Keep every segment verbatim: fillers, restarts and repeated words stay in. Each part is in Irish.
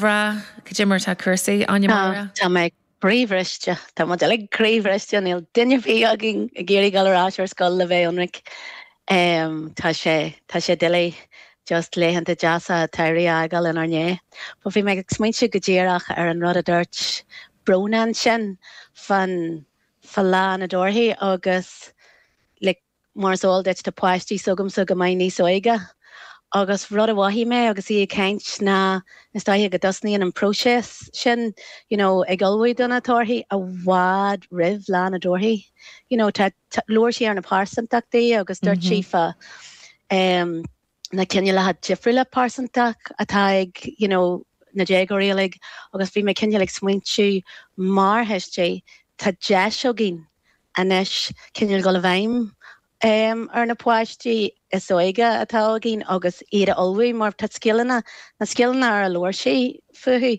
Bhreá, cad é mar atá cúrsaí, Áine Máire? Tá mé croíbhriste. Tá muid uilig croíbhriste. Níl duine ar bith againn ag iarraidh dul ar ais ar scoil, le bheith ionraic. Tá sé tá sé doiligh just laethanta deasa samhraidh a fhágáil inár ndiaidh. But bhí mé ag smaointiú go díreach ar an rud a dúirt Bróna ansin fan fá Lá na dTorthaí agus like mar is eol duit, tá páistí s'agamsa go maith níos óige agus rud a mhothaigh mé agus í ag caint ná is dóiche go dtosnaíonn an próiseas sin you know ag ullmhú do na torthaí i bhfad roimh Lá na dTorthaí. You know tá labhair sí ar na pearsantachtaí agus dúirt sí fá um, na cineálacha difriúla pearsantacht atá ag you know na déagóirí uilig agus bhí mé cineál ag smaointiú, mar thuistí, tá deis againn anois cineál dul i bhfeidhm um, ar na páistí is óige atá againn agus iad a ullmhú, mar tá scileanna, na scileanna ar a labhair sí fúthu,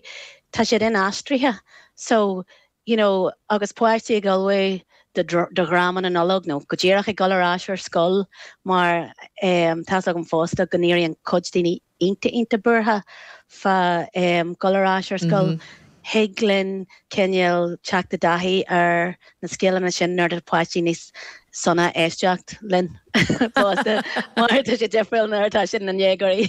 tá siad inaistrithe. So you know agus páistí ag ullmhú do dhráma na Nollag nó go díreach ag dul ar ais ar scoil, mar um, tá agam fosta go n-éiríonn cuid daoine iontach iontach buartha fá um, dul ar ais ar scoil. Mm -hmm. Thig linn cineál teacht i dtaithí ar na scileanna sin nuair atá páistí níos sona éisteacht linn fosta, mar tá sé difriúil nuair atá sin na ndéagóirí.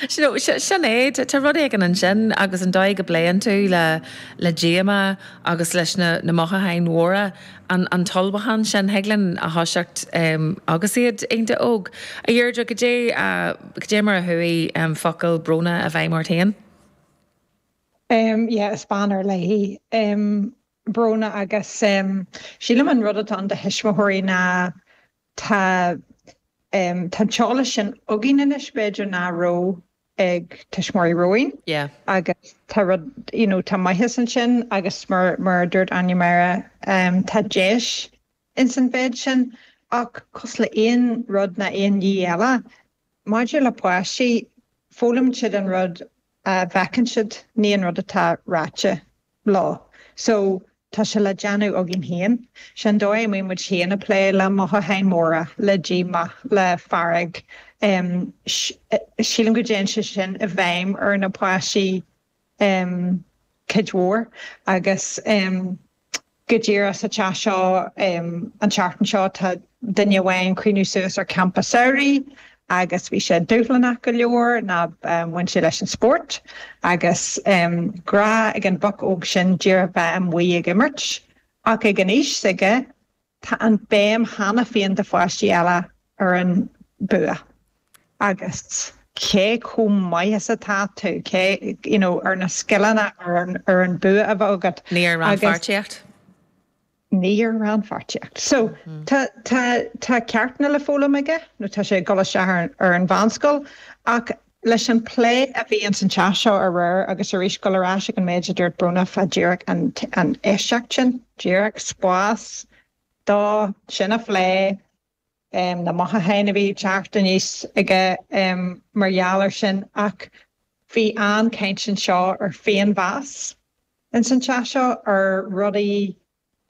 Sin é, tá rud éigin ansin agus an dóigh go bpléann tú le le díomá agus leis na na mothúcháin mhóra, an an t-ullmhúchán sin, thig linn a thoiseacht um, agus iad iontach óg. A Dheirdre, cad é cad é mar a chuaigh um, focail Bróna i bhfeidhm ort féin? Um, yeah, is bean ar leith í um, Bróna agus um, sílim an rud atá ann do thuismitheoirí ná tá um, tá teolas sin againn anois b'fhéidir nach raibh ag tuismitheoirí romhainn. Yeah. Agus tá rud you know, tá maitheas ansin agus mar mar dúirt Áine Máire, um, tá deis ins an mhéid sin, ach cosúil le aon rud ná aon ní eile, maidir le páistí, foghlaimíonn siad an rud a bhfeiceann siad, ní an rud atá ráite leo. So tá sé le déanamh againn féin. Sin dóigh a muid féin ag plé le mothúcháin mhóra, le díomá, le fearg. Um, sílim go dtéann sé sin i bhfeidhm ar na páistí um, cuid mhór agus um, go díreach sa teach seo um, an tseachtain seo tá duine amháin ag cuimhniú suas ar campa samhraidh agus bhí sé dúshlánach go leor ná um, bhain sé leis an spórt agus um, grá ag an boc óg sin díreach bheith amuigh ag imirt, ach ag an aois s'aige tá an béim cheana féin de pháistí eile ar an bua. Agus cé chomh maith is atá tú, cé you know, ar na scileanna, ar an, ar an bua a bheith agat. Ní ar rannpháirtíocht? Ní ar rannpháirtíocht. So tá tá tá ceachtanna le foghlaim aige nó tá sé ag dul isteach ar, ar an mheánscoil, ach leis an plé a bhí an san teach seo aréir agus arís dul ar ais ag an méid a dúirt Bróna fá díreach an, an éisteacht sin, díreach spás dó sin a phlé, um, na mothúcháin a bhí teacht aníos aige um, mar gheall air sin, ach bhí an-chaint anseo ar féinmheas in san teach seo, ar rudaí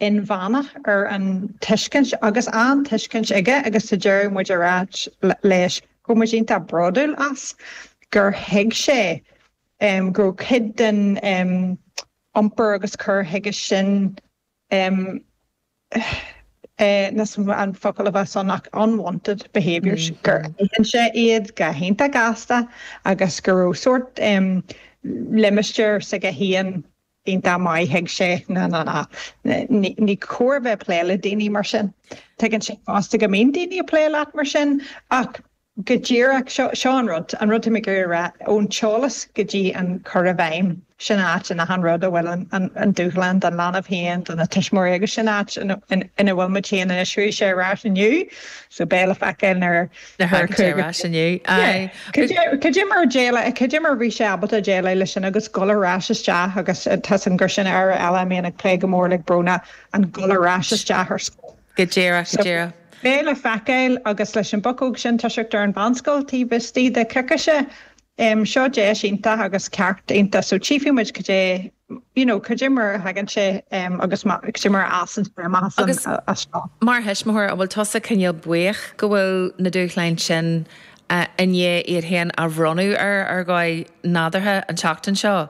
inmheánach, ar an tuiscint agus an tuiscint aige agus sa deireadh muid ar ais leis go muid iontach bródúil as gur thuig sé um, go raibh cuid den um, iompar agus cur chuige sin um, eh, an focal a bheith ann ach unwanted behaviours, mm, gur aithin sé iad go hiontach gasta agus go raibh sórt um, limistéar s'aige féin iontach maith. Thuig sé na na na ní cóir bheith plé le daoine mar sin. Tuigeann sé fosta go mbíonn daoine ag plé leat mar sin, ach go díreach seo seo an rud an rud mé gur rá ón teolas go dtí an cur i bhfeidhm, sin áit ina han rud a bhfuil an, an dúshlán don leanbh féin, do na tuismitheoirí, agus sin áit ina bhfuil muid féin anois. Chuaigh sé ar ais inniu, so beidh le feiceáil nuair ar ais inniu. Cad é mar cad é mar bhí sé ábalta déileáil leis sin agus dul ar ais isteach, agus tá an gur sin ar eile mé ag plé go mór le Bróna, an dul ar ais isteach ar scoil. Go díreach, go díreach. Beidh le feiceáil agus leis an bocóg sin toiseacht ar an mheánscoil taobh istigh de coicíse. Um, seo deis iontach agus ceart iontach, so tchífidh muid cad é you know, cad é mar a thagann sé um, agus cad é mar a fhásann sé Agus as seo. Mar thuismitheoir, an bhfuil tusa cineál buíoch go bhfuil na dúshláin sin i ndiaidh iad féin a bhronnadh air ar dhóigh nádúrtha an tseachtain seo.